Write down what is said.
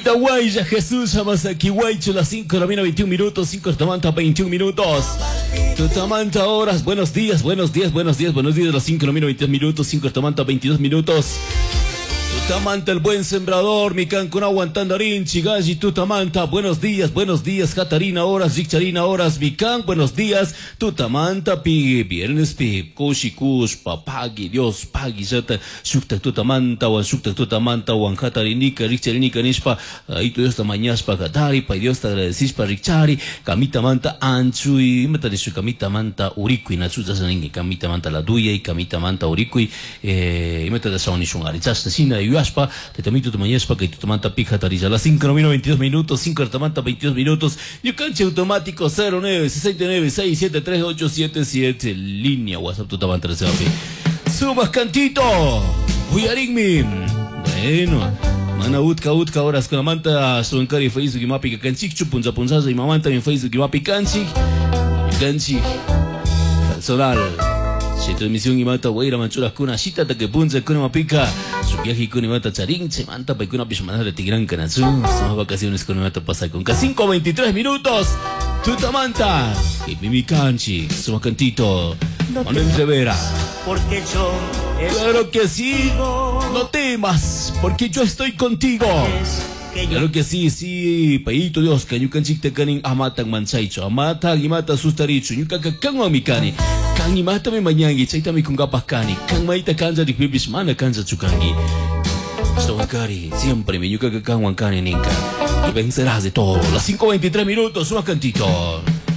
Guaya, Jesús, aquí Guaycho, las 5 de la mañana, 21 minutos, 5 de la mañana, 21 minutos. Tutamanta horas, buenos días, buenos días, buenos días, buenos días, las 5 de la mañana, 22 minutos, 5 de la mañana, 22 minutos. Tutamanta, el buen sembrador, mi cancún aguantando Chigalli, Tutamanta, buenos días, buenos días, Catarina horas, Richarina horas, mi can, buenos días, Tutamanta, pi, viernes, pi, kushi, kush, papagui, Dios, pagui, yata, shukta, Tutamanta, wan, shukta, Tutamanta, wan, Catarinica, Richarinica, nishpa, ahí tu Dios ta mañashpa, Katari, pa Dios te agradecishpa, Richari, kamita manta, anchu, imata nishu, kamita manta, urikui, nachu, ningi, kamita manta la duya, y kamita manta, urikui, imata da shawnishun, ari, chashna, shina, yuyashpa, tetamito tu mañashpa, que tutamanta pija tarilla, las 5 de la 22 minutos, 5 de la manta, 22 minutos, Ñukanche automático 09 69 673 877, línea WhatsApp tutamanta Sumas cantito, Uyarinmi. Bueno, mana utka utka horas con la manta sunkari Facebook y mapi kanchik chupunza punzaza y mamanta en Facebook y mapi kanchik kanchik personal. Si transmisión y mata guaira manchuras kuna shita ta que punza kuna mapika su viaje kuna mata charín se manta pa kuna pishmanada de tigran kanatsu son vacaciones con mata pasa con 5:23 minutos. Tutamanta y mimi kanchik suma cantito No Manuel temas, Rivera. Porque yo Claro que sí. No temas, porque yo estoy contigo. Es que yo Claro que sí, sí, payito Dios, que ñukanchik te kanin amatan manchaycho, amatan imata sustaricho, ñukaka kanwan mi kani, kan imata mi mañangi, chayta mi kungapas kani, kan maita kanja rikpipish mana kanja chukangi. Kari, siempre mi ñukaka kanwan kani ninka. Y vencerás de todo. Las 5:23 minutos, suma cantito.